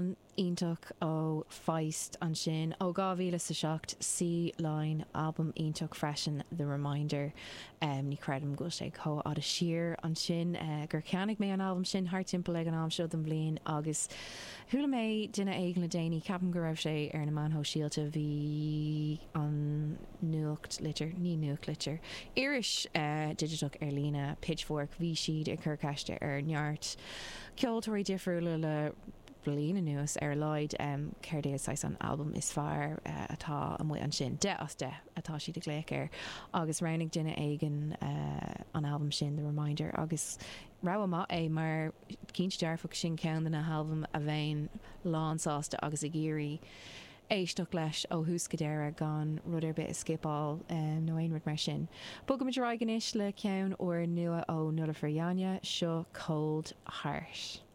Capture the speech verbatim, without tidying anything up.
Amhrán iontach ó Feist ansin ó dhá mhíle is a seacht, Sea Lion, albam iontach freisin The Reminder. Um, ní chreidim go bhfuil sé chomh fada siar ansin uh, gur cheannaigh mé an albam sin thart timpeall ag an am seo den bhliain agus chuala mé duine éigin le déanaí ceapaim go raibh sé ar na meáin shóisialta bhí an nuachtlitir ní nuachtlitir iris uh, digiteach ar líne Pitchfork bhí siad ag cur ceiste ar neart ceoltóirí difriúla le bliain anuas ar a laghad um, céard é saghas an albam is fearr uh, atá amuigh ansin deich as deich atá siad ag glaoch air agus roghnaigh duine éigin uh, an albam sin The Reminder agus rogha maith é mar cinnte dearfach sin ceann de na halbaim a bheinn lánsásta agus ag iarraidh éisteacht leis ó thús go deireadh gan rud ar bith a skippáil um, nó aon rud mar sin. Bogaimid ar aghaidh anois le ceann úr nua ó Nuliffer Yanya seo Cold Heart.